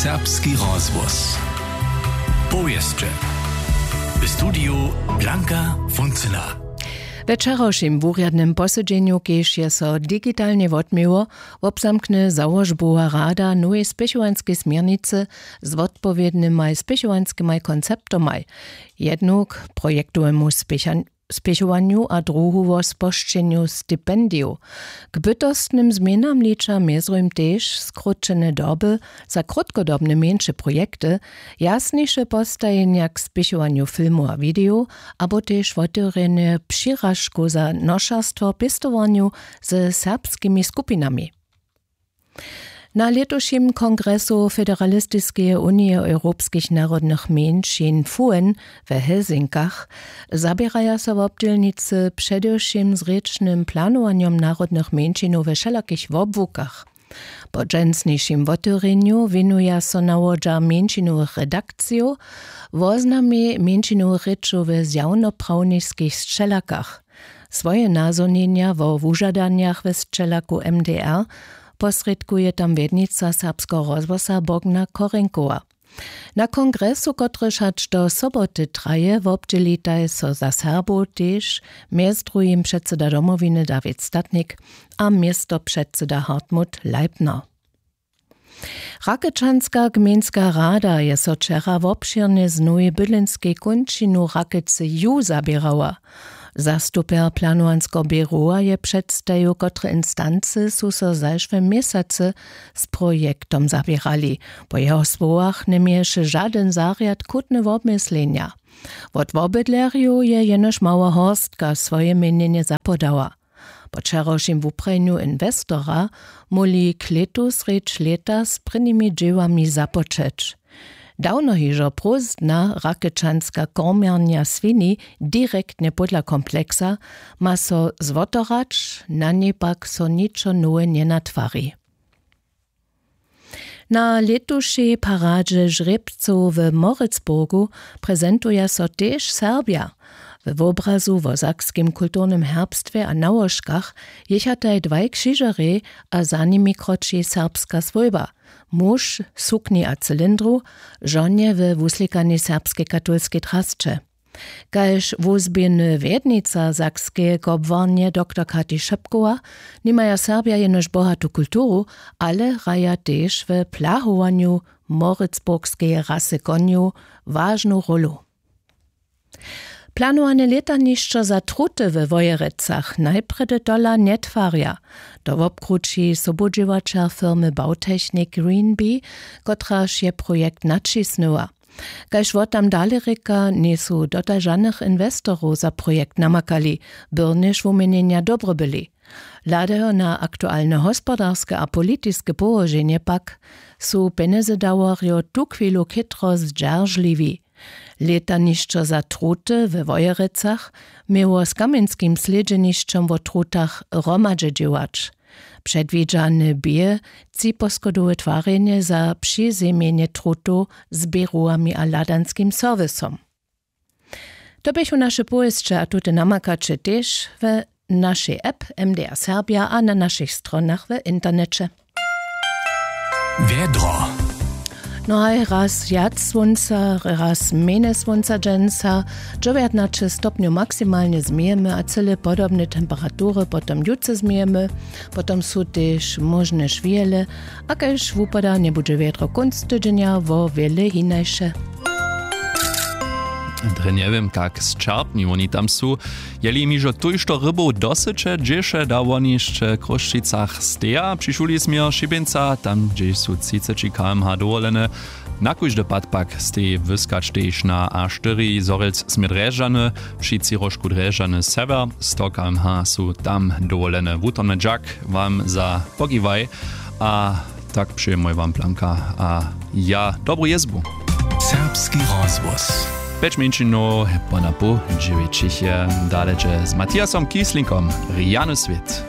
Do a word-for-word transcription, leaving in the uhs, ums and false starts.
Serbski rozhłos. Powěsće. W studiju Blanka Funcyna. We wčerawšim wurjadnym posedźenju, kež je so digitalnje wotměło, wobzamkny załožbowa rada nowej spěchowanskej směrnicy z wotpowědnymaj spěchowanskymaj konceptomaj, jednok k projektowemu spěchan- spěchowanju a druhu wo spožčenju stipendijow. K bytostnym změnam liča mjezrujm tež skrótšene doby za krótkodobne mjeńše projekty, jasniše postajenja k spěchowanju filmow a widejow abo tež wotewrjenje přiražkow za nošerstwo w pěstowarnju ze serbskimi skupinami. Na lětušim kongresu Federalistiskeje unije europskich narodnych mjeńšin fuen w Helsinkach zaběraja so wobdźělnicy předewšěm z rěčnym planowanjom narodnych mjeńšinow we wšelakich wobłukach. Po dźensnišim wotewrjenju wěnuja so nawodźa mjeńšinowych redakcijow woznamej mjeńšinowych rěčow w zjawnoprawniskich sćelakach. Swoje nazhonjenja wo wužadanjach we sćelaku M D R posrědkuje tam wjednica serbskeho rozhłosa Bogna Korenkowa. Na kongresu, kotryž hač do soboty traje, wobdźělitaj so za Serbow tež mjez druhim předsyda Domowiny Dawid Statnik a městopředsyda Hartmut Leipner. Rakečanska gmejnska rada je so wčera wobšěrnje z nowej bydlenskej kónčinu Rakece ju zaběrała. Zastupjer planowanskeho běrowa je předstajił, kotre instancy su so zašłym měsacy z projektom zaběrali. Po jeho słowach njeměješe žadyn zarjad chutne wobmyslenja. Wot wobydlerjow je jenož mała horstka swoje měnjenje zapodała. Po wčerawšim wuprajenju inwestora móhli klětu srjedź lěta z prěnimi dźěłami započeć. Dawno hižo prózdna rakečanska kormjarnja swini direktnje pódla kompleksa ma so zwotorać, na njej pak so ničo nowe njenatwari. Na lětušej paradźe žrěbcow w Moritzburgu prezentuja so tež Serbja. We wobrazu wo sakskim kulturnym herbstwje a nałožkach jěchataj dwaj křižerjej a za nimi kroči serbska swójba. Muž w sukni a cylindru, žonje we wuslikanej serbskej katolskej drasće. Kaž wuzběhny wjednica sakskeje kobłarnje doktor Kati Šepkowa, nimaja Serbja jenož bohatu kulturu, ale hraja tež w plahowanju moritzburgskeje rasy konjow wažnu rólu. Planowane lětanišćo za truty we Wojerecach najprjedy tola njetwarja. To wobkrući sobudźěłaćer firmy Bautechnik Green Bee, kotraž je projekt naćisnyła. Kaž wot tam dale rěka, njejsu dotal žanych inwestorow za projekt namakali, byrnjež wuměnjenja dobre byli. Hladajo na aktualne hospodarske a politiske połoženje pak, su pjenjezedawarjo tuchwilu chětro zdźeržliwi. Lětanišćo za truty we Wojerecach měło z kamjenskim slědźenišćom wo trutach hromadźe dźěłać. Předwidźane bě třiposchodowe twarjenje za přizemjenje trutow z běrowami a hladanskim serwisom. To běchu naše powěsće a tute namakaće tež we našej app M D R Serbja a na našich stronach w interneće. Wjedro. No haj, raz wjac słónca, raz mjenje słónca dźensa. Dźewjatnaće stopnjow maksimalnje změjemy a cyle podobne temperatury potom jutře změjemy. Potom su tež móžne šwěle, a kaž wupada, njebudźe wjedro kónc tydźenja wo wjele hinaše. Drje njewěm, kak sćerpni woni tam su. Jeli jim hižo tójšto rybow dosyće, dźeše da woni hišće w Chrósćicach steja? Přišuli směr Šibjeńca, tam hdźež su třiceći K M H dowolene. Na kóždy pad pak steji wyskać tež na A štyri. Zhorjelc směr Drježdźany, při třiróžku Drježdźany sewjer, sto K M H su tam dowolene. Wutrobny dźak wam za pokiwaj a tak přejemoj wam Blanka a ja dobru jězbu. Serbski rozhłos. Pjeć mjeńšinow po na poł dźewjećich je. Dale dźe z Matthiasom Kieslinkom Rjany swět.